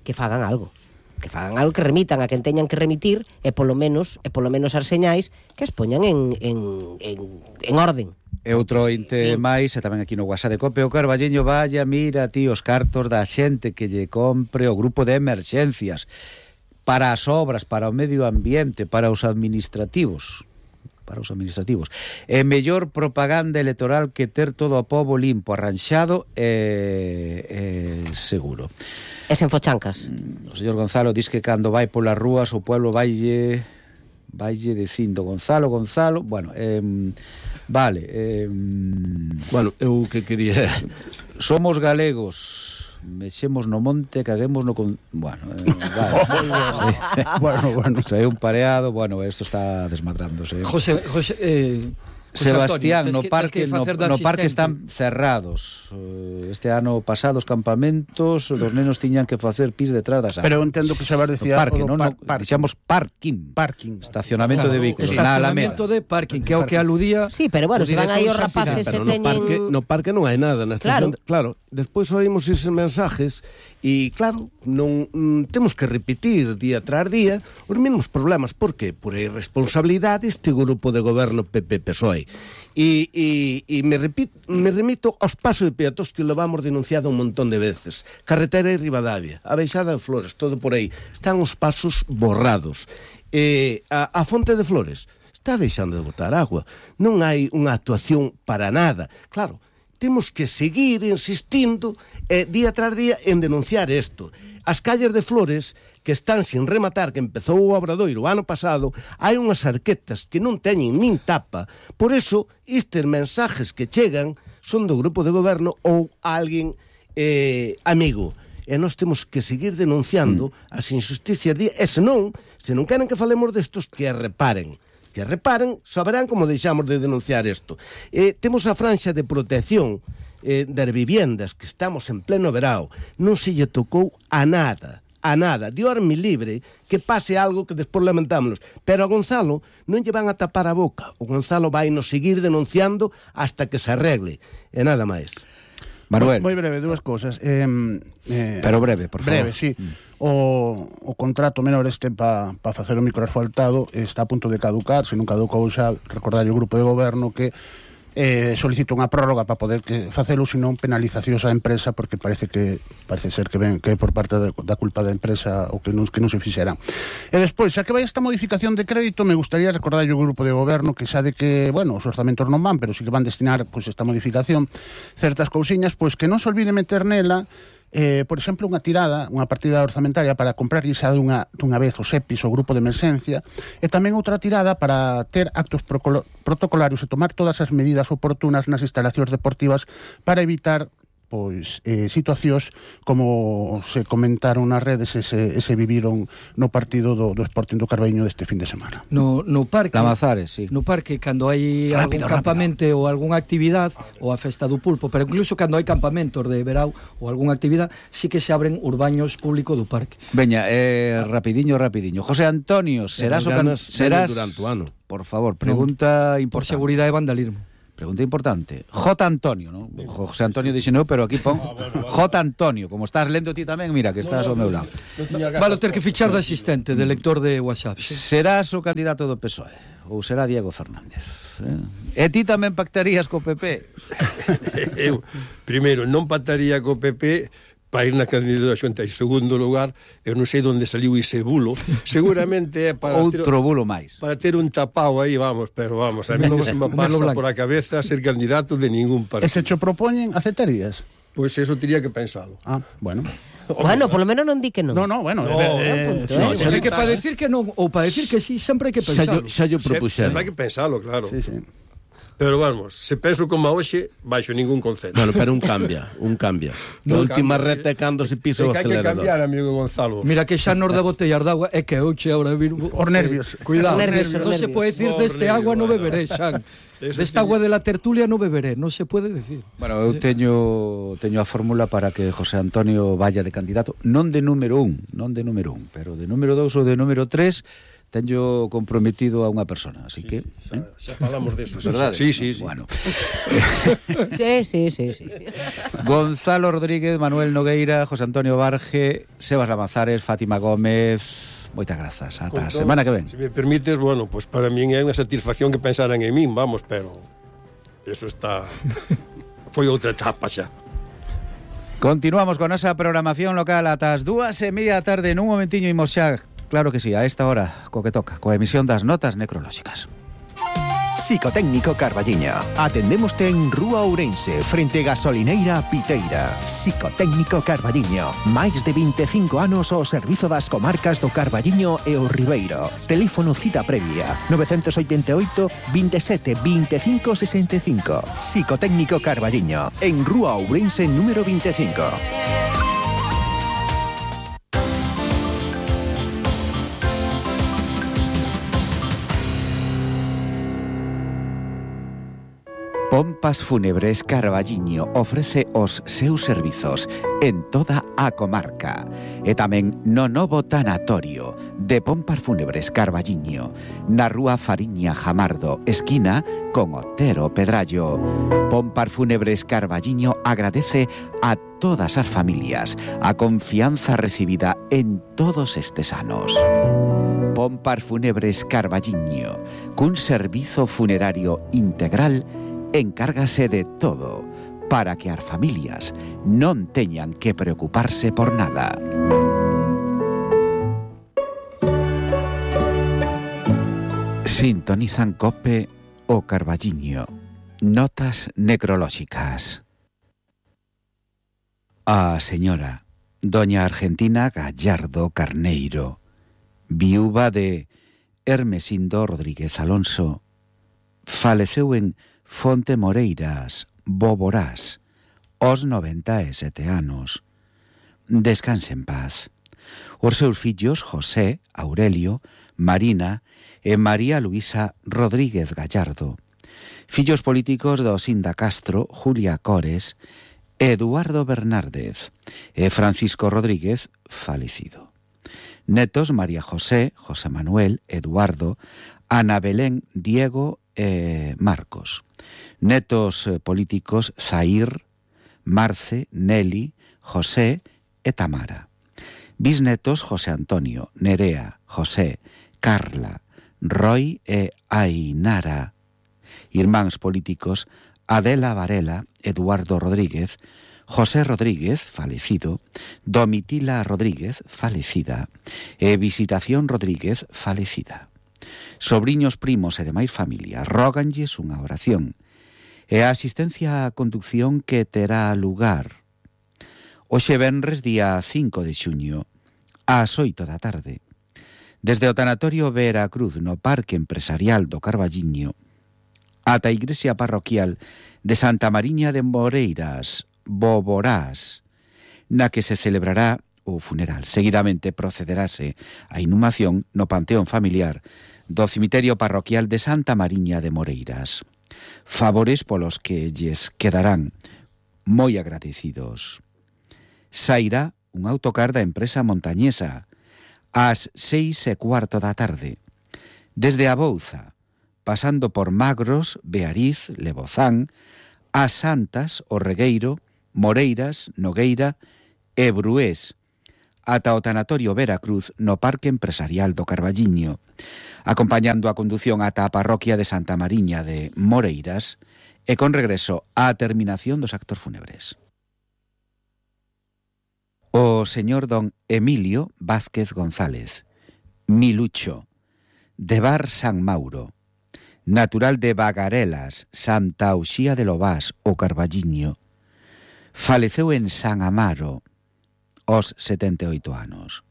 Que fagan algo, que remitan a quen teñan que remitir e polo menos as señais que as poñan en orden. E outro inte máis, e tamén aquí no WhatsApp de Cope o Carballiño, vaya, mira ti os cartos da xente que lle compre o grupo de emerxencias para as obras, para o medio ambiente, para os administrativos. É mellor propaganda electoral que ter todo o pobo limpo, arranxado e seguro. E sen fochancas. O señor Gonzalo diz que cando vai polas rúas o pueblo vaille dicindo Gonzalo, bueno, vale. Bueno, eu que quería... Somos galegos, mexemos no monte, caguemos no... Bueno, vale. Bueno. É un pareado, bueno, isto está desmadrándose. José Sebastián, no parque están cerrados. Este ano pasado os campamentos, os nenos tiñan que facer pis detrás das áreas. Pero entendo que Xabar decía parque, dixamos parking. Estacionamento de vehículos. Estacionamento de parking, que é o que aludía. Sí, pero bueno, se van aí os rapaces e teñen... No parque non hai nada na estación. Claro, despois oímos eses mensajes e claro, non temos que repetir día tras día os mesmos problemas. Por qué? Por a irresponsabilidade este grupo de goberno PP-PSOE. E me remito aos pasos de peatóns que levamos denunciado un montón de veces. Carretera de Ribadavia, a Baixada de Flores, todo por aí. Están os pasos borrados. A Fonte de Flores está deixando de botar agua. Non hai unha actuación para nada. Claro, temos que seguir insistindo día tras día en denunciar isto. As calles de Flores, que están sin rematar, que empezou o Obradoiro o ano pasado, hai unhas arquetas que non teñen nin tapa. Por eso, estes mensajes que chegan son do grupo de goberno ou alguén amigo. E nós temos que seguir denunciando as injusticias. E se non queren que falemos destos, que reparen, saberán como deixamos de denunciar isto. Temos a franxa de protección das viviendas, que estamos en pleno verao, non se lle tocou a nada. Dios-me libre que pase algo que despois lamentámonos. Pero a Gonzalo non lle van a tapar a boca. O Gonzalo vai nos seguir denunciando hasta que se arregle. E nada máis. Manuel. Moi breve, dúas cousas. Pero breve, por favor. Breve, sí. O contrato menor para facer o microasfaltado está a punto de caducar. Se non caducou xa, recordar o grupo de goberno que solicito unha prórroga para poder facelo, senón penalizacións á empresa, porque parece ser que ven que é por parte da culpa da empresa o que non se fixera. E despois, xa que vai esta modificación de crédito, me gustaría recordar o grupo de goberno que xa de que, bueno, os orzamentos non van, pero sí que van destinar esta modificación certas cousiñas, pois que non se olvide meter nela por exemplo, unha partida orzamentaria para comprar xa dunha vez os EPIs, o grupo de emerxencia, e tamén outra tirada para ter actos protocolarios e tomar todas as medidas oportunas nas instalacións deportivas para evitar situacións como se comentaron nas redes e se viviron no partido do Sporting do Carballiño deste fin de semana. No parque, Lamazares, sí. No parque, cando hai algún campamento ou algunha actividade, ou a festa do pulpo, pero incluso cando hai campamentos de verao ou algunha actividade, sí que se abren urbaños públicos do parque. Veña, rapidiño. José Antonio, serás durante o ano. Por favor, pregunta importante. Por seguridade e vandalismo. Pregunta importante. J. Antonio, ¿no? José Antonio dixe no, pero aquí pon J. Antonio. Como estás lendo ti tamén, mira, que estás ao meu lado. Vale ter que fichar de asistente, de lector de WhatsApp. Serás o candidato do PSOE ou será Diego Fernández? E ti tamén pactarías co PP? Eu, primeiro, non pactaría co PP para ir na candidatura xunta. En segundo lugar, eu non sei onde saliu ese bulo. Seguramente é para outro bulo máis. Para ter un tapao aí, pero vamos, a mí non se me pasa por a cabeza ser candidato de ningún partido. E se cho propoñen, aceptarías? Pois eso teria que pensalo. Bueno. Bueno, por lo menos non di que non. No, bueno. É que para decir que non ou para decir que sí, sempre hai que pensalo. Xa yo propuxeron. Sempre hai que pensalo, claro. Sí. Pero vamos, se penso como a hoxe, baixo ningún concepto. Bueno, pero un cambia. Na última reta é cando se pisa o acelerador. Hai que cambiar, amigo Gonzalo. Mira que xa nos da botellar de agua, é que hoxe agora vir... Por nervios. Cuidado, non se pode decir deste agua non beberé, Xan. Desta agua de la tertulia non beberé, non se pode decir. Bueno, eu teño a fórmula para que José Antonio vaya de candidato, non de número 1, pero de número 2 ou de número 3... Tenho comprometido a unha persona, así que... Xa falamos deso, verdade? Sí. Bueno. Sí. Gonzalo Rodríguez, Manuel Nogueira, José Antonio Barge, Sebas Lamazares, Fátima Gómez... Moitas grazas, ata a semana que ven. Se me permites, bueno, pues para min é unha satisfacción que pensaran en min, vamos, pero... Eso está... Foi outra etapa xa. Continuamos con esa programación local ata as 2:30 da tarde. Nun momentiño imos xa... Claro que sí, a esta hora, co que toca, coa emisión das notas necrolóxicas. Psicotécnico Carballiño. Atendémoste en Rúa Ourense, frente Gasolineira Piteira. Psicotécnico Carballiño. Máis de 25 anos ao servizo das comarcas do Carballiño e o Ribeiro. Teléfono cita previa 988 27 25 65. Psicotécnico Carballiño, en Rúa Ourense número 25. Pompas Fúnebres Carballiño ofrece os seus servizos en toda a comarca e tamén no novo tanatorio de Pompas Fúnebres Carballiño na rúa Fariña Jamardo, esquina con Otero Pedrallo. Pompas Fúnebres Carballiño agradece a todas as familias a confianza recibida en todos estes anos. Pompas Fúnebres Carballiño, cun servizo funerario integral, encárgase de todo para que as familias non teñan que preocuparse por nada. Sintonizan COPE o Carballiño. Notas necrolóxicas. A señora doña Argentina Gallardo Carneiro, viúva de Hermesindo Rodríguez Alonso, faleceu en Fonte Moreiras, Boborás, aos 97 anos. Descanse en paz. Os seus fillos José, Aurelio, Marina e María Luisa Rodríguez Gallardo. Fillos políticos do Sinda Castro, Julia Cores, Eduardo Bernárdez e Francisco Rodríguez, falecido. Netos María José, José Manuel, Eduardo, Ana Belén, Diego e Marcos. Netos políticos Zair, Marce, Nelly, José e Tamara. Bisnetos José Antonio, Nerea, José, Carla, Roy e Ainara. Irmáns políticos Adela Varela, Eduardo Rodríguez, José Rodríguez, falecido, Domitila Rodríguez, falecida, e Visitación Rodríguez, falecida. Sobriños, primos e demais familia róganlles unha oración e a asistencia á conducción que terá lugar Hoxe venres día 5 de xuño, ás 8 da tarde. Desde o tanatorio Veracruz no Parque Empresarial do Carballiño ata a igrexa parroquial de Santa Mariña de Moreiras, Boborás, na que se celebrará o funeral. Seguidamente procederase a inhumación no panteón familiar do cemiterio parroquial de Santa Mariña de Moreiras. Favores polos que lles quedarán moi agradecidos. Sairá un autocar da empresa montañesa ás 6:15 da tarde, desde a Bouza, pasando por Magros, Beariz, Lebozán, as Santas, o Regueiro, Moreiras, Nogueira e Brués, ata o tanatorio Veracruz no Parque Empresarial do Carballiño, acompañando a condución ata a parroquia de Santa Mariña de Moreiras e con regreso á terminación dos actos fúnebres. O señor don Emilio Vázquez González, Milucho, de Bar San Mauro, natural de Bagarelas, Santa Uxía de Lobás, o Carballiño, faleceu en San Amaro aos 78 anos.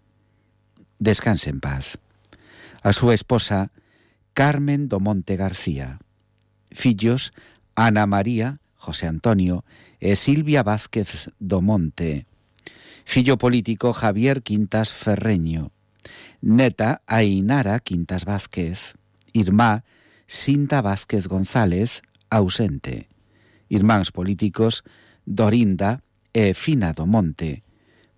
Descanse en paz. A súa esposa, Carmen do Monte García. Fillos, Ana María, José Antonio e Silvia Vázquez do Monte. Fillo político, Javier Quintas Ferreño. Neta, Ainara Quintas Vázquez. Irmá, Sinta Vázquez González, ausente. Irmáns políticos, Dorinda e Fina do Monte.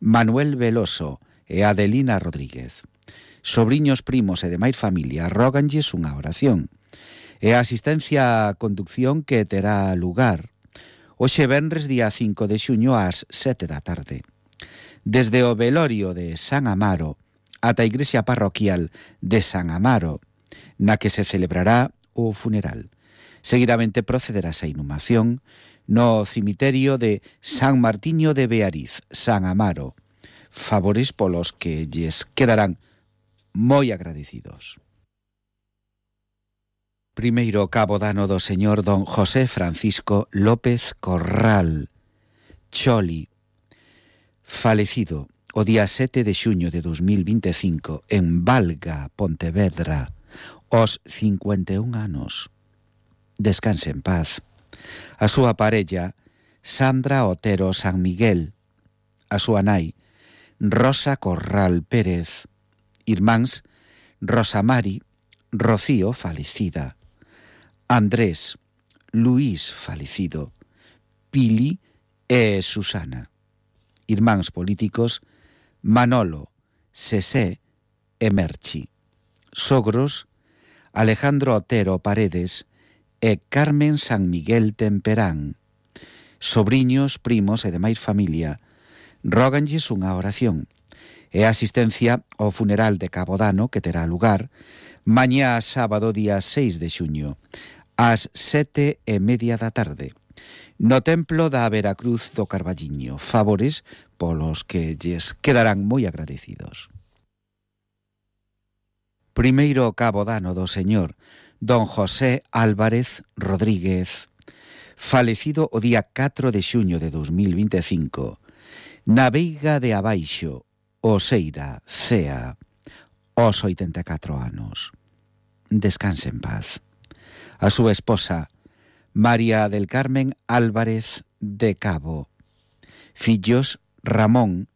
Manuel Veloso e Adelina Rodríguez. Sobriños, primos e demais familia róganlles unha oración. E a asistencia á conducción que terá lugar hoxe venres día 5 de xuño ás 7 da tarde. Desde o velorio de San Amaro ata a igrexa parroquial de San Amaro, na que se celebrará o funeral. Seguidamente procederase a inhumación no cemiterio de San Martiño de Beariz, San Amaro. Favores polos que lles quedarán moi agradecidos. Primeiro cabo dano do señor don José Francisco López Corral, Choli, falecido o día 7 de xuño de 2025 en Valga, Pontevedra, aos 51 anos. Descanse en paz. A súa parella, Sandra Otero San Miguel. A súa nai, Rosa Corral Pérez. Irmáns, Rosa Mari, Rocío falecida. Andrés, Luís falecido. Pili e Susana. Irmáns políticos, Manolo, Sesé e Merchi. Sogros, Alejandro Otero Paredes e Carmen San Miguel Temperán. Sobriños, primos e demais familia róganlles unha oración e asistencia ao funeral de Cabo Dano que terá lugar mañá sábado día 6 de xuño ás 7:30 da tarde no templo da Veracruz do Carballiño. Favores polos que lles quedarán moi agradecidos. Primeiro cabo dano do señor don José Álvarez Rodríguez, falecido o día 4 de xuño de 2025, na Veiga de Abaixo, Oseira, Cea, aos 84 anos. Descanse en paz. A súa esposa, María del Carmen Álvarez de Cabo. Fillos, Ramón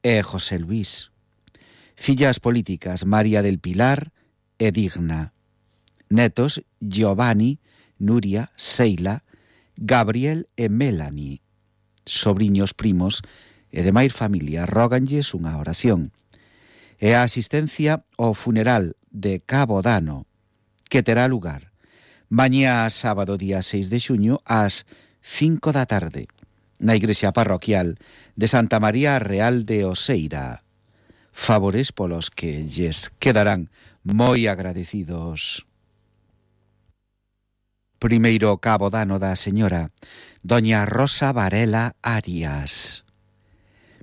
e José Luis. Fillas políticas, María del Pilar e Digna. Netos, Giovanni, Nuria, Seila, Gabriel e Melanie. Sobriños, primos e demais familia róganlles unha oración. E a asistencia ao funeral de Cabo Dano, que terá lugar mañá sábado día 6 de xuño ás 5 da tarde na igrexa parroquial de Santa María Real de Oseira. Favores polos que lles quedarán moi agradecidos. Primeiro cabo dano da señora doña Rosa Varela Arias,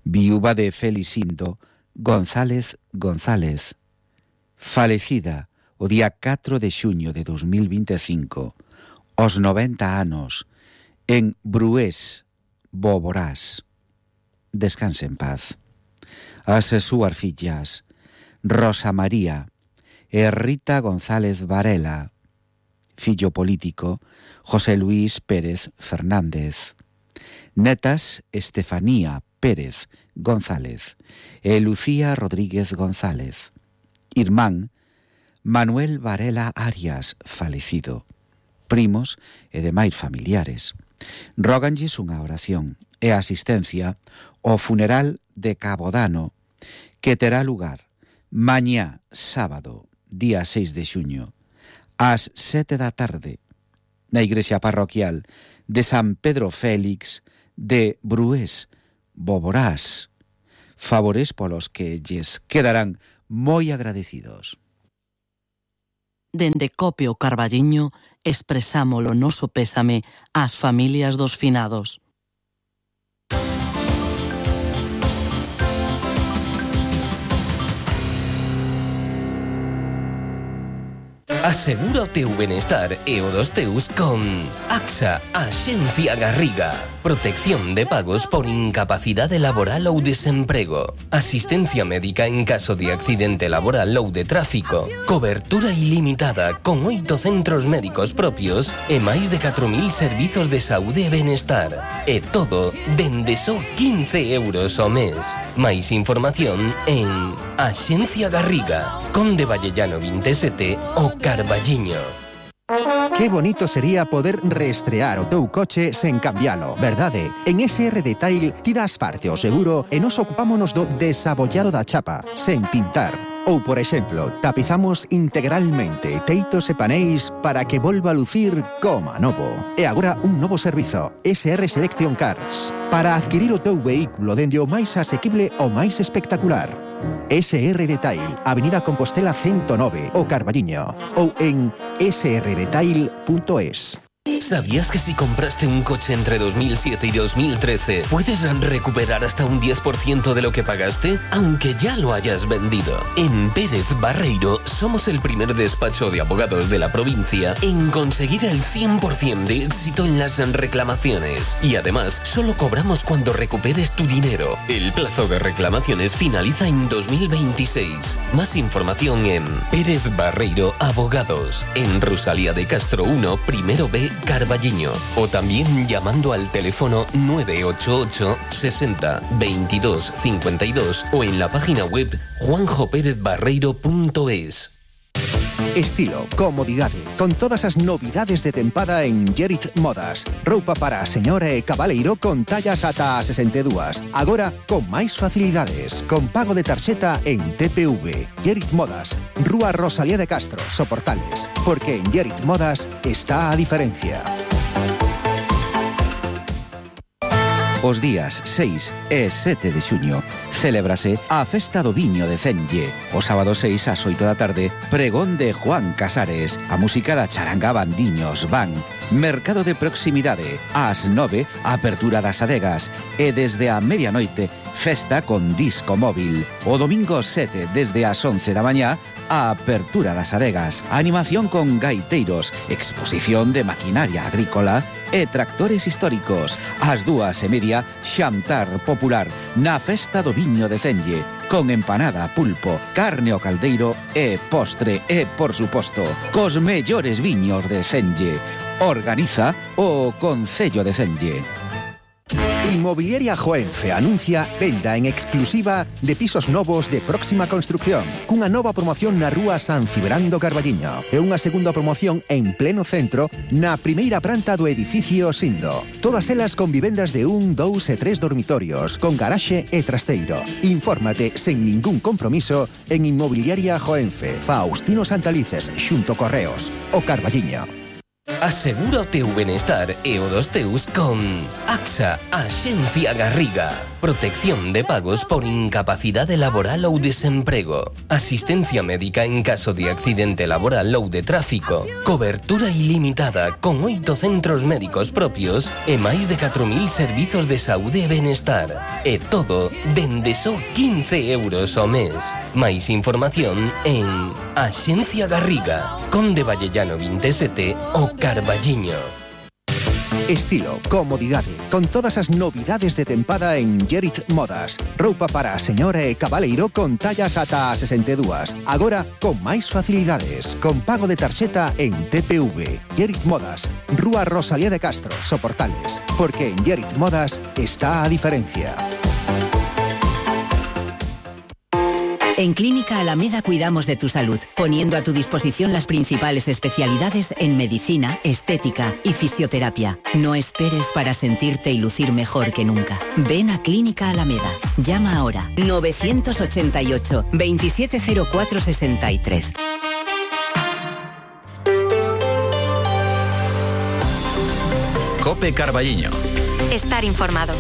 viúva de Felicindo González González, falecida o día 4 de xuño de 2025, aos 90 anos, en Brués, Boborás. descanse en paz. As súas fillas, Rosa María e Rita González Varela, fillo político, José Luis Pérez Fernández, netas Estefanía Pérez González e Lucía Rodríguez González, irmán Manuel Varela Arias, falecido, primos e demais familiares. Róganlles unha oración e asistencia ao funeral de Cabodano que terá lugar mañá, sábado, día 6 de xuño, ás 7 da tarde, na igrexa parroquial de San Pedro Félix de Brués, Boborás, favores polos que lles quedarán moi agradecidos. Dende Copio Carballiño expresamos o noso pésame ás familias dos finados. Asegura o teu benestar e o dos teus con AXA, Axencia Garriga. Protección de pagos por incapacidade laboral ou desemprego. Asistencia médica en caso de accidente laboral ou de tráfico. Cobertura ilimitada con 8 centros médicos propios e máis de 4.000 servizos de saúde e benestar. E todo dende só 15 euros ao mes. Máis información en Axencia Garriga, Conde Vallellano 27 o Carballiño. Qué bonito sería poder reestrear o teu coche sen cambialo, verdade? En SR Detail ti das parte o seguro e nos ocupámonos do desabollado da chapa, sen pintar. Ou, por exemplo, tapizamos integralmente teitos e paneis para que volva a lucir como novo. E agora un novo servizo, SR Selection Cars, para adquirir o teu vehículo dende o máis asequible ao máis espectacular. SR Detail, Avenida Compostela 109, o Carballiño, ou en srdetail.es. ¿Sabías que si compraste un coche entre 2007 y 2013 puedes recuperar hasta un 10% de lo que pagaste, aunque ya lo hayas vendido? En Pérez Barreiro somos el primer despacho de abogados de la provincia en conseguir el 100% de éxito en las reclamaciones. Y además, solo cobramos cuando recuperes tu dinero. El plazo de reclamaciones finaliza en 2026. Más información en Pérez Barreiro Abogados, en Rosalía de Castro 1, primero B, Carballiño, o también llamando al teléfono 988 60 22 52 o en la página web juanjoperezbarreiro.es. Estilo, comodidade, con todas as novidades de tempada en Gerit Modas. Roupa para a señora e cabaleiro con tallas ata 62. Agora, con máis facilidades, con pago de tarxeta en TPV. Gerit Modas, Rúa Rosalía de Castro, Soportales. Porque en Gerit Modas está a diferencia. Os días 6 e 7 de xuño celébrase a Festa do Viño de Cenlle. O sábado 6 ás 8 da tarde, pregón de Juan Casares. A música da charanga Bandiños van. Mercado de proximidade. Ás 9, apertura das adegas. E desde a medianoite, festa con disco móvil. O domingo 7, desde as 11 da mañá, a apertura das adegas. Animación con gaiteiros, exposición de maquinaria agrícola e tractores históricos. Ás 2:30, xantar popular na Festa do Viño de Cenlle, con empanada, pulpo, carne ao caldeiro e postre e, por suposto, cos mellores viños de Cenlle. Organiza o Concello de Cenlle. Inmobiliaria Joenfe anuncia venda en exclusiva de pisos novos de próxima construcción, cunha nova promoción na rúa San Cibrando Carballiño e unha segunda promoción en pleno centro na primeira planta do edificio Sindo. Todas elas con vivendas de 1, 2 e 3 dormitorios, con garaxe e trasteiro. Infórmate sen ningún compromiso en Inmobiliaria Joenfe, Faustino Santalices, xunto Correos, o Carballiño. Asegura o teu benestar e o dos teus con AXA, Axencia Garriga. Protección de pagos por incapacidade laboral ou desemprego. Asistencia médica en caso de accidente laboral ou de tráfico. Cobertura ilimitada con 8 centros médicos propios e máis de 4.000 servizos de saúde e benestar. E todo dende só 15 euros ao mes. Máis información en Axencia Garriga, Conde Vallellano 27 o Carballiño. Estilo, comodidade, con todas as novidades de tempada en Gerit Modas. Roupa para a señora e cabaleiro con tallas ata a 62. Agora con máis facilidades, con pago de tarxeta en TPV. Gerit Modas, Rúa Rosalía de Castro, Soportales. Porque en Gerit Modas está a diferencia. En Clínica Alameda cuidamos de tu salud, poniendo a tu disposición las principales especialidades en medicina, estética y fisioterapia. No esperes para sentirte y lucir mejor que nunca. Ven a Clínica Alameda. Llama ahora 988 270463. COPE Carballiño. Estar informado.